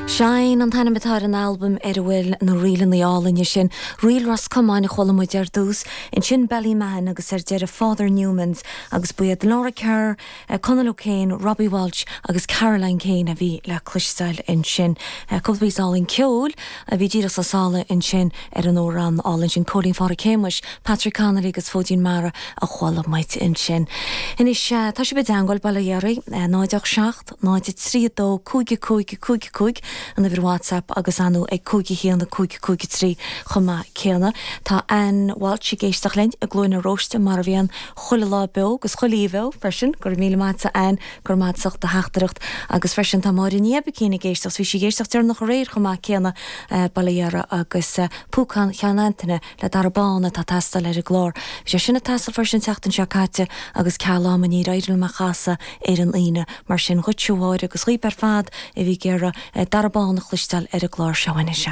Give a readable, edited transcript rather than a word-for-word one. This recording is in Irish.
Shine an t-ainm atá ar an albam ar a bhfuil na ríleanna álainne sin. Ríl Ros Comáin a chuala muid ar dtús, ansin Ballymahon agus ar deireadh Father Newman's agus ba iad Laura Kerr, Conal O'Kane, Robbie Walsh agus Caroline Kane a bhí le cloisteáil ansin. Cúpla píosa álainn ceoil a bhí díreach sna sála ansin ar an amhrán álainn sin Cóilín Phádraic Shéamuis, Patrick Connolly agus Fóidín Mara a chuala muid ansin. Anois tá sibh i dteangmháil, Baile Dhéaraí, 0 8 7 0 3 2 5 5 5 5, an uimhir WhatsApp agus ar ndóigh ag 5 1 5 5 3 chomh maith céanna. Tá Ann Walsh ag éisteacht linn i gCluain na Róiste mar a bhíonn chuile lá beo agus chuile oíche bheo freisin. Go raibh míle maith agat a Ann, go raibh maith agat as ucht do theachtaireacht. Agus freisin tá Máire Ní Oibicín ag éisteacht, bhí sí ag éisteacht deireanach aréir chomh maith céanna, Baile Dhéara agus Púcán Cheann Antaine le Dara Bán atá ag teastáil ar an gclár. Bhí sé sin ag teastáil freisin an tseachtain seo caite agus ceal ama níor éirigh liom é a chasadh ar an Aoine. Mar sin dhuitse a Mháire agus dhaoibh ar fad a bhí ag iarraidh Dara Bán a chloisteáil ar an gclár seo anois.